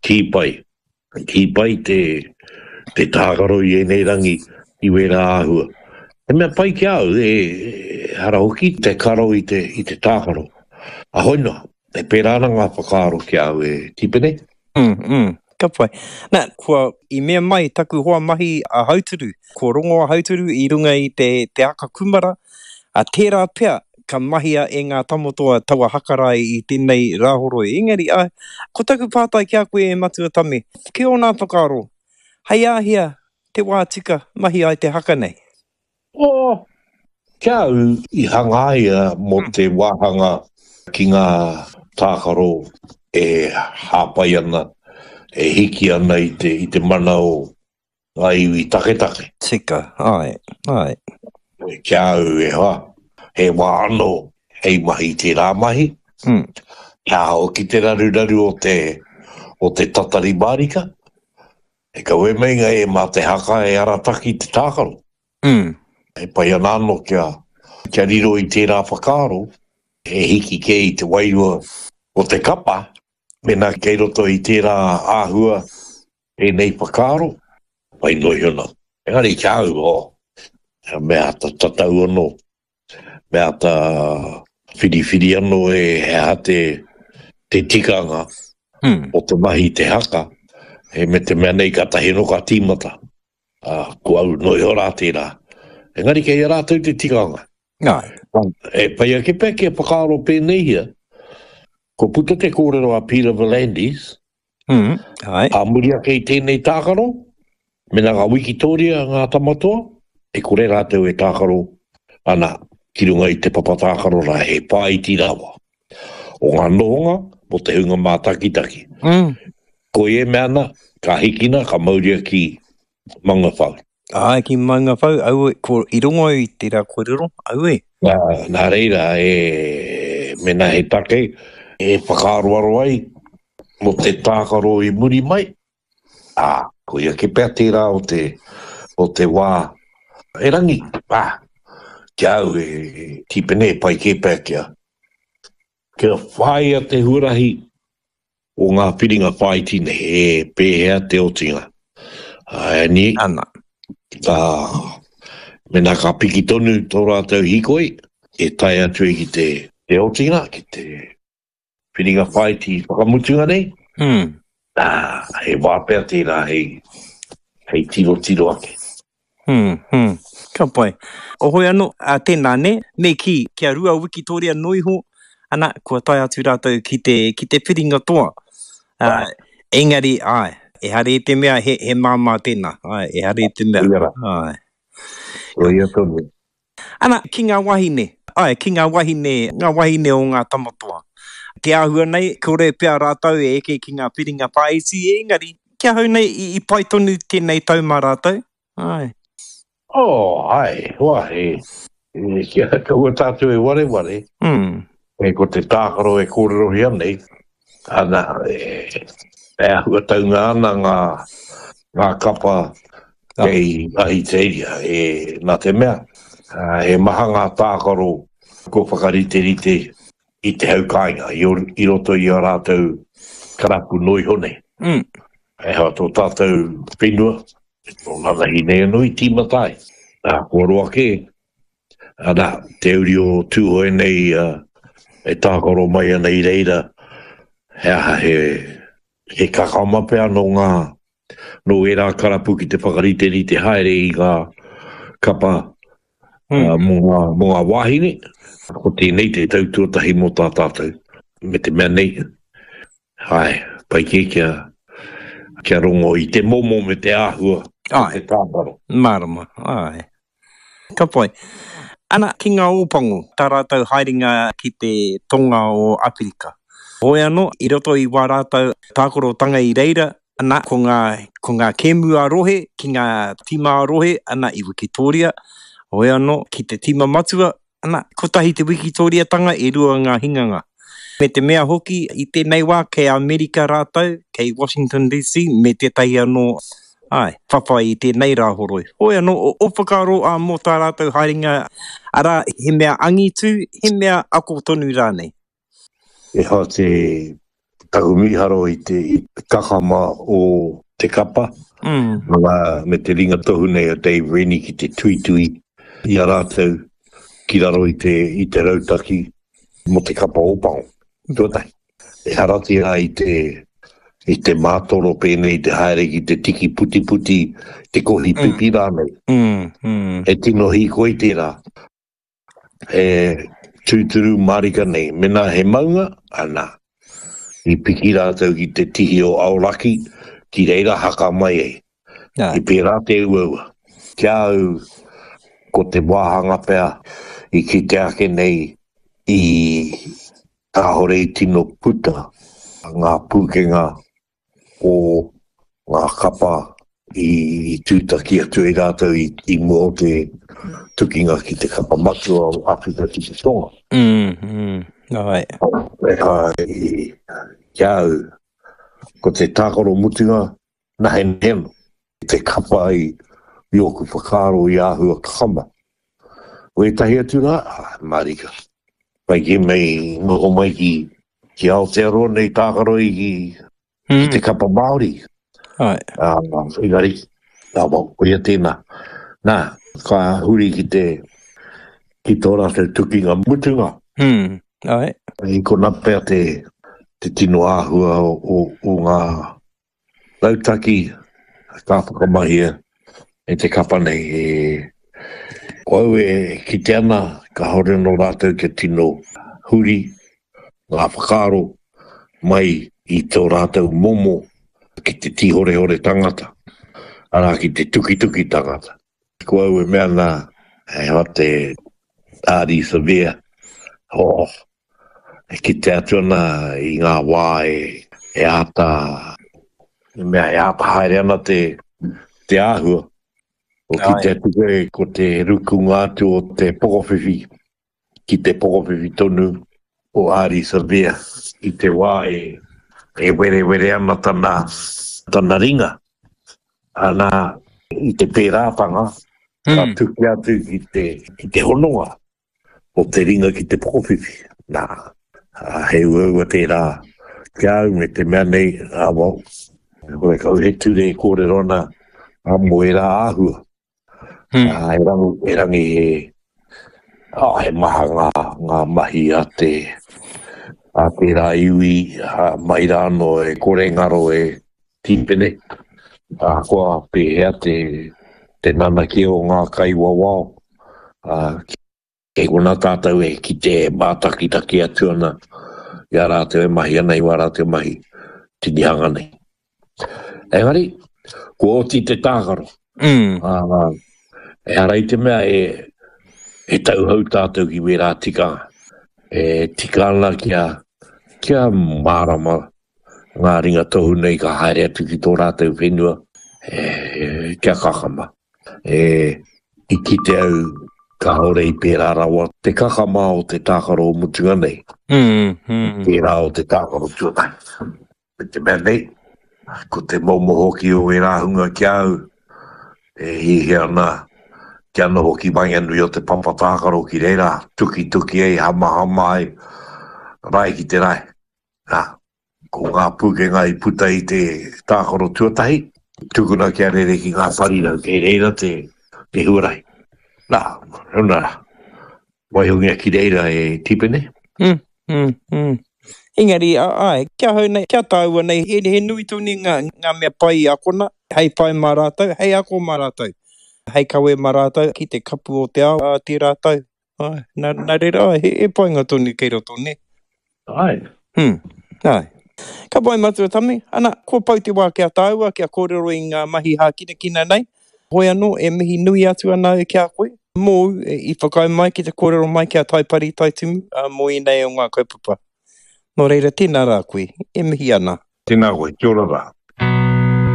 Kī pai. Kī pai te, te tākaro i ēnei rangi i wērā āhua. He mea pai ki a au, e, ehara hoki te karo i te, i te tākaro. Ahoi noa, e pērā ana ngā whakaaro ki a au e Tipene. Mm, mm, ka pai. Nā, kua i mea mai taku hoa mahi a Hauturu, kua rongo a Hauturu i runga i te, te aka kumara, a tērā pea ka mahia e ngā tamatoa taua haka rā i tēnei rāhoroi. Engari, āe, ko taku pātai ki a koe e Matua Tame, ki ōna whakaaro, hei āhea te wā tika mahi ai te haka nei? Oh, ki a au i hangaia mō te wāhanga ki ngā tākaro e hāpai ana, e hiki ana i te, i te mana o ngā iwi taketake. Tika, āe, āe. Ki a au e hoa, he wā anō hei mahi tērā mahi, mm. kia hoki te raruraru o te, o te tatari mārika, e kawe meinga e mā te haka e arataki te tākaro. Mm. E pai ana anō kia, kia riro i tērā whakaaro, e hiki kē i te wairua o te kapa, mēnā kei roto i tērā āhua ēnei whakaaro, pai noa iho nā. Engari ki a au, oh, me āta tatau anō, me āta whiriwhiri anō e he aha te, te tikanga hmm. o te mahi te haka, e me te mea nei katahi anō ka tīmata. Uh, ko au noa iho rā tērā. Engari kei a rātou te tikanga. Āe. E pai ake pea kia whakaaro pēneihia, kua puta te kōrero a Peter V'landys, mm, āe. Ā muri ake i tēnei tākaro, mēnā ka wikitōria ngā tamatoa, e kore rātou e tākaro ana ki runga i te papa tākaro rā, he whāiti rawa o ngā nohonga mō te hunga mātakitaki. Mm. Koia e mea ana, ka hikina, ka mauria ki Maungawhau. Āe, ki Maungawhau, aue, ko, i rongo au i tērā kōrero, aue. Nā, nā reira, e, mēnā he take e whakaaroaro ai mō te tākaro i muri mai, ā, koia kē pea tērā o te, o te wā erangi, ā, ki a au e, e Tīpene e pai kē pea kia, kia whāia te huarahi o ngā whiringa whāiti nei, e pēhea te otinga. Āe, Ana. Ka, mēnā ka piki tonu tō rātou hīkoi, e tae atu ai ki te, te otinga, ki te whiringa whāiti whakamutunga nei, mm. nā, he wā pea tērā hei, hei tirotiro ake. Hmm, hmm. Ka pai. Ohoi anō, ā, tēnā, nē? Me kī, kia rua wikitōria noa iho, ana, kua tae atu rātou ki te, ki te whiringa toa. Ā, engari, āe, ehara i te mea he, he māmā tēnā, āe, ehara i te mea, Koia rā. āe. Koia tonu. Ana, ki ngā wahine, āe, ki ngā wahine, ngā wahine o ngā tamatoa. Te āhua nei, kore pea rātou e eke ki ngā whiringa whāiti, engari, ki ahau nei, i, i pai tonu tēnei tau mā rātou. Āe. Oh, āe, hoa, e, e, kia kaua tātou e wareware, mm. e, ko te tākaro e kōrerohia nei, ana, e, e āhuataunga ana ngā, ngā kapa kei Ahitereiria, e, nā te mea, he maha ngā tākaro kua whakariterite i te hau kāinga, i, i roto i a rātou karapu noa iho nei. Mm. E hea tō tātou whenua, tō nanahi nei anō i tīmata ai. Nā, kua roa kē, ana, te uri o Tūhoe nei e tākaro mai ana i reira, he aha he, he kakama pea nō ngā, nō ērā karapu ki te whakariterite haere i ngā kapa mm. mō ngā, mō ngā wāhine. Ko tēnei te tau tuatahi mō tā tātou. Me te mea nei, Āe, pai kē kia, kia rongo i te momo me te āhua o te tākaro. Mārama, āe. Ka pai. Ana, ki ngā Ōpango, tā rātou haerenga ki te tonga o Awherika. Hoi anō, i roto i wā rātou tākorotanga i reira, ana, ko ngā, ko ngā kēmu ā-rohe, ki ngā tīma ā-rohe, ana, i Wikitōria. Hoi anō, ki te tīma matua, Ana, kotahi te wikitōriatanga, e rua ngā hinganga. Me te mea hoki, i tēnei wā, kei Amerika rātou, kei Washington DC, me tētahi anō, āe, whawhai i tēnei rāhoroi. Hoi anō, ō whakaaro ā, mō tā rātou haerenga, arā, he mea angitu, he mea ako tonu rānei. E hoa te. Taku mīharo i te kakama o te kapa, me te ringa tohu nei o Dave Rennie ki te tuitui i a rātou ki raro i te, i te rautaki mō te kapa Ōpango. Tuatahi, ehara tērā i te, i te mātoro pēnei te haere ki te tiki putiputi, te kohi pipi rānei. He tino hīkoi tērā. He tūturu mārika nei. Mēnā he maunga, ana, i piki rātou ki te tihi o Aoraki, ki reira haka mai ai. I pērā te uaua. Ki a au, ko te wāhanga pea i kite ake nei i kāore i tino puta ngā pūkenga o ngā kapa i tūtaki atu ai rātou i mua o te tukinga ki te kapa matua o Āwherika ki te Tonga. Mm, mm, ai. Ai, ki a au, ko te tākaro mutunga, nahenahe anō. Te kapa i ōku whakaaro i āhua kakama. Ko ētahi atu rā, mārika. Pai kē mai, noho mai ki Ki Aotearoa nei tākaro i ki te kapa Māori. Ai. Engari, nā, well, koia tēnā. Nā, ka huri ki te, ki tō rātou tukinga mutunga. Mm, ai. I kona pea te, te tino āhua o, o, o ngā Rautaki ka whakamahia e te kapa nei. E, ko au e kite ana, kāore anō rātou kia tino huri ngā whakaaro mai i tō rātou momo ki te tīhorehore tangata, arā ki te tukituki tangata. Ko au e mea ana, he aha te Ardie Savea, oh, E kite atu ana i ngā wā e āta, i mea e āta haere ana te, te āhua. Ko kite atu koe ko te rukunga atu o te pokowhiwhi ki te pokowhiwhi tonu o Ardie Savea i te wā e, e werewere ana tana, tana ringa. Ana, i te pērātanga, ka tuki atu ki te, ki te hononga. o te ringa ki te pokowhiwhi. Nā, he uaua tērā ki a au me te mea nei, ā, well, horekau he ture e kōrero ana mō ērā āhua. Hmm. Ā, erangi, erangi he, oh, he maha ngā, ngā mahi a te, a tērā iwi, a, mai rā anō e kore ngaro e tīpene, ahakoa pēhea te, te nanakia o ngā kaiwawao, ā, kei konā tātou e kite e mātakitaki atu ana i a rātou e mahi ana i wā rātou mahi tinihanga nei. Engari, kua oti te tākaro. Mm. Ā, ehara i te mea e, e tauhou tātou ki wērā tikanga. E tika ana kia, kia mārama ngā ringa tohu nei ka haere atu ki tō rātou whenua, e, kia kakama. E, i kite au kāore i pērā rawa te kakama o te tākaro o mutunga nei. Mm, mm. Pērā o te tākaro tuatahi. Me te mea nei, ko te momo hoki o ērā hunga ki a au, e hiahia ana kia noho ki waenganui o te papa tākaro ki reira, tukituki ai, hamahama ai, rae ki te rae. Nā, ko ngā pūkenga i puta i te tākaro tuatahi, tukuna kia rere ki ngā parirau, kei reira te, te huarahi. Nā, huna, waihongia ki reira e Tipene. Mm, mm, mm. Engari, āe, ki ahau nei, ki a tāua nei, he, he nui tonu ngā, ngā mea pai i akona, hei whai mā rātou, hei ako mā rātou, hei kawe mā rātou ki te kapu o te ao ā tērā tau. Āe, nā, nā reira, āe, he, he painga tonu kei roto, nē? Āe. Hmm, āe. Ka pai Matua Tami, ana, kua pau te wā ki a tāua kia kōrero i ngā mahi hākinakina nei. Hoi anō, e mihi nui atu ana au ki a koe, mōu i whakaae mai ki te kōrero mai ki a Taipari Taitumu mō ēnei o ngā kaupapa. Nō reira, tēnā rā koe, e mihi ana. Tēnā koe, kia ora rā.